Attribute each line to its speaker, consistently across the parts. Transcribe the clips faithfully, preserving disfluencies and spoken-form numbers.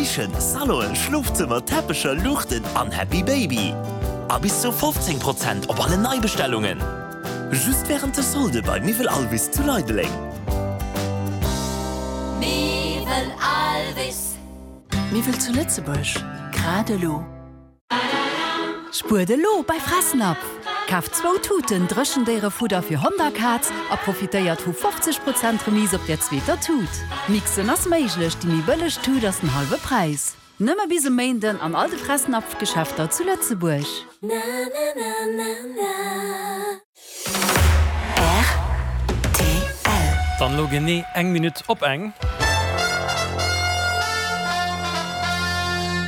Speaker 1: Kichen, Salonen, Schlofzëmmer, Teppecher, Luuchten an Happy Baby. A bis zu fofzéng Prozent op alle Neibestellungen. Just wärend de Solde bei Miwwel Alvis zu Leideleng.
Speaker 2: Miwwel Alvis.
Speaker 3: Miwwel zu Lëtzebuerg, grad elo. Spuert elo bei Fressnapf! Kaaft zwou Tuten Dréchendéierefudder fir Hond a Kaz a profitéiert vu fofzeg Prozent Remise op der zweeter Tut. Mixen ass méiglech, déi méi bëlleg Tut ass den hallwe Präis. Nëmme bis e Méinden an all de Fressnapf-Geschäfter zu Lëtzebuerg.
Speaker 4: Dann elo genee eng Minutt op eng.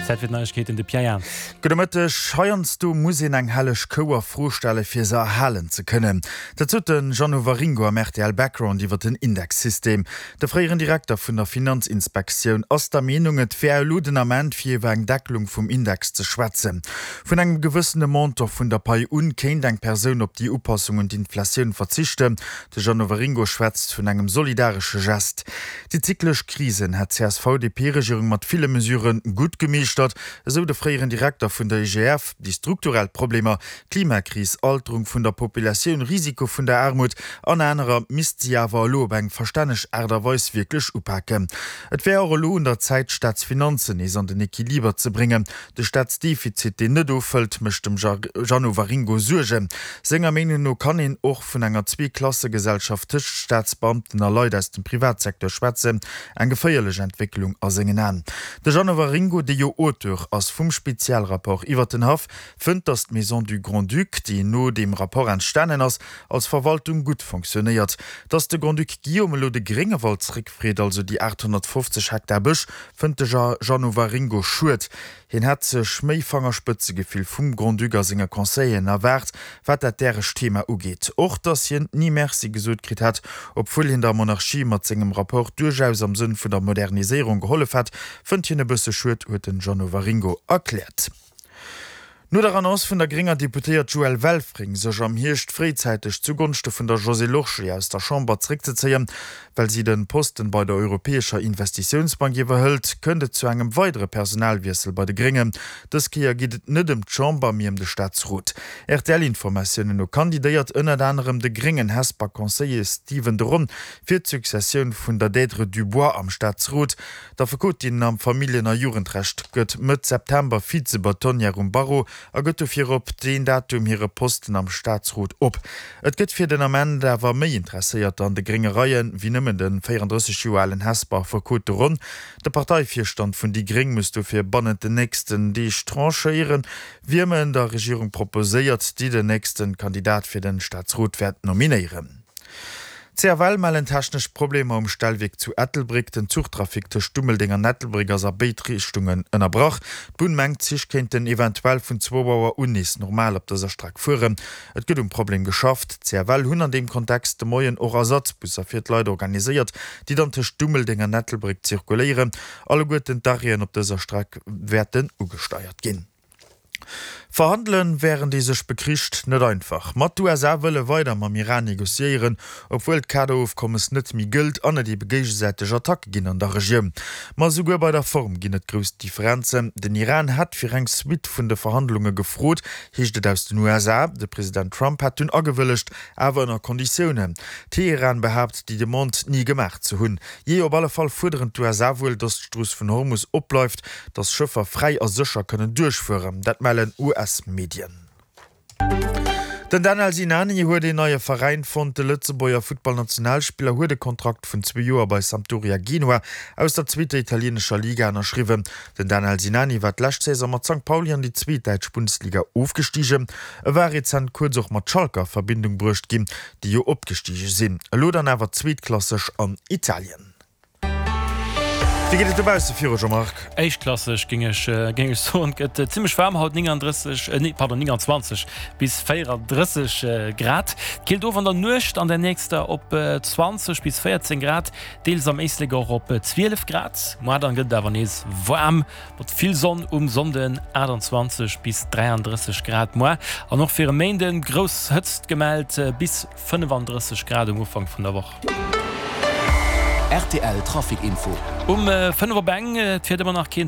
Speaker 4: Zäit fir d'Neiegkeeten, de Pierre Jans.
Speaker 5: Gudde Mëtteg. Heiansdo muss een eng helleg Kou a Fro stelle fir se erhalen ze kënnen. Dat sot de Jeannot Waringo am R T L Background iwwer den Indexsystem. De fréieren Direkter vun der Finanzinspektioun ass der Meenung, et wär elo den Ament fir iwwer eng Deckelung vum Index ze schwätzen. Vun engem gewëssene Montant vun der Pai un kéint eng Persoun op déi Upassung un d'Inflatioun verzichten. De Jeannot Waringo schwätzt vun engem solidaresche Gest. Déi zyklesch Krisen hätt d'C S V D P-Regierung mat ville Mesurë gutt gemeeschtert, esou de fréieren Direkter vun der I G F. Déi strukturell Problemer, Klimakris, Alterung vun der Populatioun, Risiko vun der Aarmut an anerer, misst si awer elo op eng verstänneg Aart a Weis wierklech upaken. Et wär och elo un der Zäit, d'Staatsfinanzen nees an den Equiliber ze bréngen. De Staatsdefizit, deen net ofhëlt, mécht dem Jeannot Waringo Suergen. Senger Meenung no kann een och vun enger Zweeklassegesellschaft tëscht Staatsbeamten a Leit aus dem Privatsecteur schwätzen, eng geféierlech Entwécklung a sengen Aen. De Jeannot Waringo, dee jo Auteur ass vum Spezialrapport iwwer den Haff, fënnt, datt d'Maison du Grand-Duc, déi no deem Rapport entstanen ass, als Verwaltung gutt fonctionnéiert. Datt de Grand-Duc Guillaume elo de Gréngewald zréckfreet, also déi aathonnertfofzeg Hektar Bësch, fënnt de Jeannot Waringo schued. Hien hätt sech méi Fangerspëtzegefill vum Grand-Duc a senge Conseilleren erwaart, wat dat däregt Thema ugeet. Och datt hien ni Merci gesot kritt hätt, obwuel hien der Monarchie mat sengem Rapport duerchaus am Sënn vun der Moderniséierung gehollef hätt, fënnt hien e bësse schued, huet den Jeannot Waringo erkläert. No der Annonce vun der grénger Deputéiert Joëlle Welfring, sech am Hierscht fréizäiteg zugonschte vun der Josée Lorsché aus der Chamber zréckzezéien, well si de Posten bei der Europäescher Investitiounsbank iwwerhëlt, kënnt et zu engem weidere Personalwiessel bei de Gréngen. Dës Kéier geet et net ëm d'Chamber, mee ëm de Staatsrot. R T L-Informatiounen no kandidéiert ënnert anerem de gréngen Hesper Conseiller Stephen de Ron fir d'Successioun vun der Deirdre Dubois am Staatsrot. D'Affekotin am Familljen a Jugendrecht gëtt Mëtt September Vize-Bâtonnière um Barreau a gëtt dofir op deen Datum hire Posten am Staatsrot op. Et gëtt fir den Ament awer méi Interesséierter an de grénge Reien, wéi nëmmen de véierandrësseg Joer alen Hesper Affekot de Ron. De Parteivirstand vun déi gréng muss dofir bannent den nächsten Deeg tranchéieren, wiem en der Regierung proposéiert, déi den nächste Kandidat fir de Staatsrot wäert nominéieren. C F L mellen technesch Problemer um Stellwierk zu Ettelbréck. Den Zuchtrafic tëscht Dummeldeng an Ettelbréck ass a béid Richtungen ënnerbrach. D'Bunn mengt, d'Zich kéinten eventuell vun zwou Auer un nees normal op dëser Streck fueren. Et gëtt um Problem geschafft. D'C F L hunn an deem Kontext de Moien och Ersatzbusser fir d'Leit organiséiert, déi dann tëscht Dummeldeng an Ettelbréck zirkuléieren. Alleguerten d'Arrêten op dëser Streck wäerten ugesteiert ginn. Verhandelen, wärend ee sech bekricht, net einfach. Ma d'U S A wëlle weider mam Iran negociéieren, obwuel d'Kaderofkommes net méi gëllt an et ebe géigesäiteg Attacke ginn an der Regioun. Ma esouguer bei der Form ginn et grouss Differenzen. Den Iran hätt fir eng Suite vun de Verhandlunge gefrot, heescht et aus den U S A. De President Trump hätt dunn agewëllegt, awer ënner Konditiounen. Teheran behaapt, déi Demande ni gemaach ze hunn. Jee, op alle Fall fuerderen d'U S A wuel, datt d'Strooss vun Hormus opbleift, datt Schëffer fräi a sécher kënnen duerchfueren. Dat mellen U S-Medien. Den Danel Sinani huet een neie Veräin fonnt. De Lëtzebuerger Futtballnationalspiller huet e Kontrakt vun zwee Joer bei Sampdoria Genua aus der zweeter italieenescher Liga ënnerschriwwen. Den Danel Sinani war d'lescht Saison mat Sankt Pauli an déi zweet däitsch Bundesliga ofgestigen. E war rezent kuerz och mat Schalke a Verbindung bruecht ginn, déi jo opgestige sinn. Elo dann awer zweetklasseg an Italien. Wéi geet et dobausse viru, Jean-Marc?
Speaker 4: Éischtklasseg géing ech géing ech soen. Et gëtt zimmlech waarm haut, néngandrësseg, nee pardon, nénganzwanzeg bis véierandrësseg Grad. Et killt of an der Nuecht an der nächster op zwanzeg bis véierzéng Grad, deels am Éislek och op zwielef Grad. Moar dann gëtt et awer nees waarm mat vill Sonn um Sonnden, aachtanzwanzeg bis dräiandrësseg Grad moar an och fir e Méinden grouss Hëtzt gemellt, bis fënnefandrësseg Grad um Ufank vun der Woch.
Speaker 6: R T L Trafic Info.
Speaker 4: Um fënnef op eng, et fiert ëmmer nach keen.